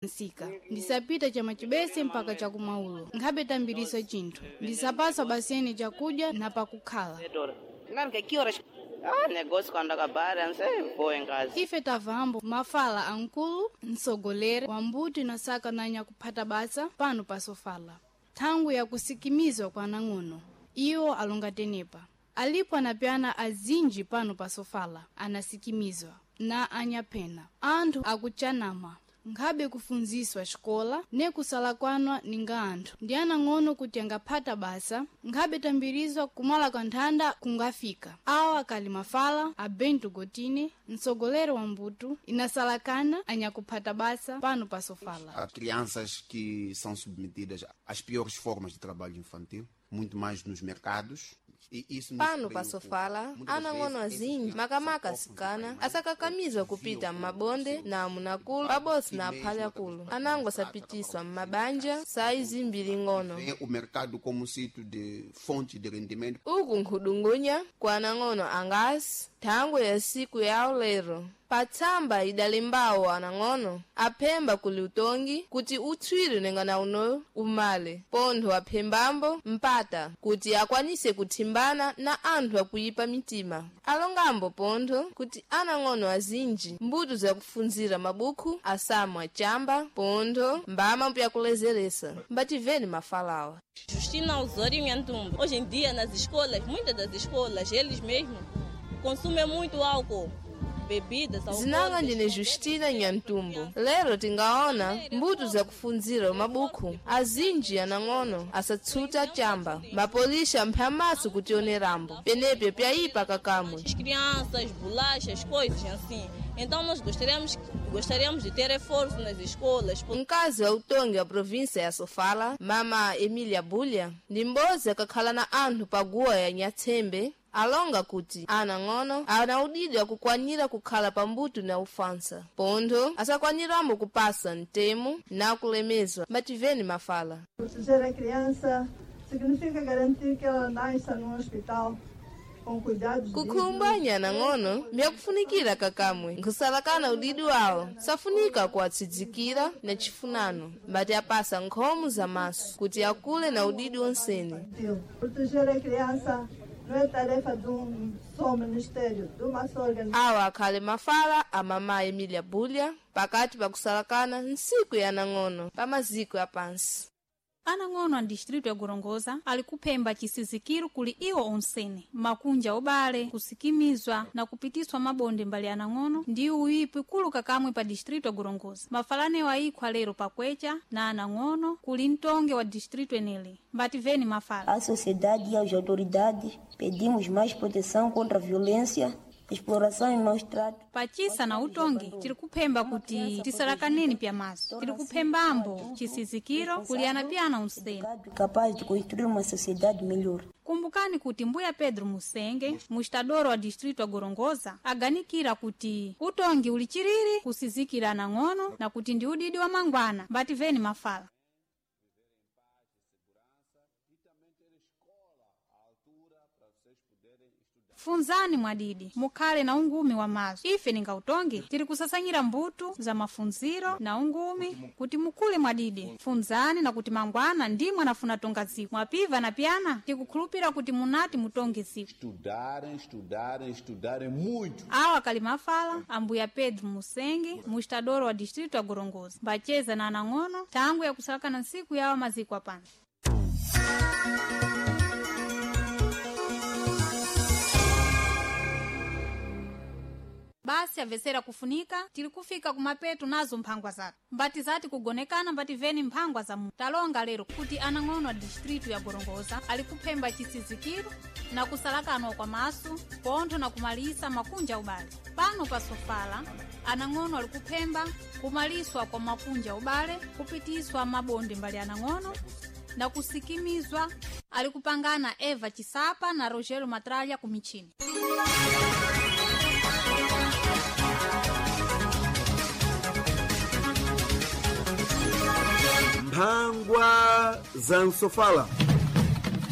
Nsika ndisapita cha machibese mpaka chakumaulo nkhabe tambiriso chinthu ndisapaswa basene chakudya na pakukhala. Claro que que horas? Ah, negócio quando acabar, não sei, vou em casa. Ife tavambo mafala ankulu mtsogoleri wa mbuti na saka na nyakuphata basa pano pasofala thangwi yakusikimizwa kwa anang'ono iwo alonga tenepa alipo anapyana azinji pano pasofala anasikimizwa na anyaphena anthu akuchanama nkhabe kufunziswa xikola ne kusalakwanwa ninga anthu ndi anang'ono kuti angaphata basa nkhabe tambirizwa kumala kwa nthanda kungafika awa akali mafala a Bento Gotine mtsogoleri wa mbuto inasalakana anyakuphata basa pano pasofala. Há crianças que são submetidas às piores formas de trabalho infantil, muito mais nos mercados. E isso nos Pano preocupa. pasofala Muitas anang'ono vezes, azinji essas makamaka crianças são asikana órfãos de asakakamizwa pais, kupita ou m'mabonde na amunakulu pabosi na aphalakulu anango asapitiswa m'mabanja sayi zimbiri ng'ono. Vê o mercado como um sítio de fonte de rendimento. Uku nkhudungunya kwa anang'ono angasi thangwe ya siku yawo lero patsamba idalembawo anang'ono aphemba kuli utongi kuti utswire nengana uno umale pontho aphembambo mpata kuti akwanise kuthimbana na anthu akuyipa mitima alongambo pontho kuti anang'ono azinji mbuto zakufunzira mabukhu asamwa chamba pontho mbama pyakulezeresa mbativeni mafalawa. Justina Osório Nhantumbo. Hoje em dia, nas escolas, muitas das escolas, eles mesmos consumem muito álcool, bebidas Zinanga alcoólicas. ndine Justina Nyantumbo. Lero tingaona mbuto zakufunzira mabukhu azinji anang'ono asatsuta chamba mapolisha mphamaso kutionerambo penepe pyayipa kakamwe. As crianças, bolachas, coisas assim. Então, nós gostaríamos de ter reforço nas escolas. Mkazi wa utongi wa província ya Sofala, mama Emília Bulha, ndi m'bodzi akakhala na anthu paguwa ya Nyatsembe alonga kuti anang'ono ana udidi akukwanira kukhala pambuto na ufansa pontho asakwaniramo kupasa mtemo na kulemezwa mbativeni mafala. Proteger a criança significa garantir que ela nasça num hospital com cuidados Kukhumba dignos. anyana mbyakufunikira kakamwe nkhusalakana udidi wawo safunika kuwatsidzikira na chifunano mbati apasa nkhomo za maso kuti akule na udidi wonsene. Infantil. Proteger a criança não é tarefa de um só ministério, de uma só organização. Awa akhale mafala a mama Emília Bulha pakati pakusalakana ntsiku ya anang'ono pa maziko apansi. Anang'ono a distrito ya Gorongosa ali kuphemba chisizikiro kuli iwo onsene makunja obale kusikimizwa na kupitiswa mabonde mbali anang'ono ndi uyipi kuluka kamwe pa distrito ya Gorongosa. Mafalanewo ayikhwa lero pakwecha na anang'ono kuli mtonge wa distrito enele mbativeni mafala. À sociedade e às autoridades pedimos mais proteção contra a violência, exploração e maus tratos. Pachisa na utongi tiri kuphemba kuti tisalakaneni pyamaso tiri kuphembambo chisizikiro kuli anapyana unsene. Capaz de construir uma sociedade melhor. Kumbukani kuti mbuya Pedro Musenge, mustadoro wa distrito wa Gorongosa, aganikira kuti utongi uli chiriri kusizikira anang'ono na kuti ndi udidi wa mangwana. Mbativeni mafala. Funzani mwadidi mukhale na ungumi wa maso. Ife ninga utongi tiri kusasanyira mbuto za mafunziro na ungumi kuti mukule mwadidi. Funzani na kuti mangwana ndimwe anafuna tonga ziko mwapiva na pyana tikukhulupira kuti munati mutonge ziko. Estudarem, estudarem, estudarem muito. Awa kali mafala ambuya Pedro Musenge, mustadoro wa distrito wa Gorongosa, mbacheza na anang'ono tangu yakusalakana nsiku yawa maziko apansi. Basi amvesera kufunika tili kufika kumapeto nazo mphangwa zathu mbati zati kugonekana mbativeni mphangwa za mu talonga lero kuti anang'ono a distritu ya Gorongosa ali kuphemba chisizikiro na kusalakanwa kwa maso pontho na kumalisa makunja ubale pano pa Sofala anang'ono ali kuphemba kumaliswa kwa makunja ubale kupitiswa mabonde mbali anang'ono na kusikimizwa ali kupangana Eva Chisapa na Rogério Matralha ku michini. Mphangwa za Nsofala.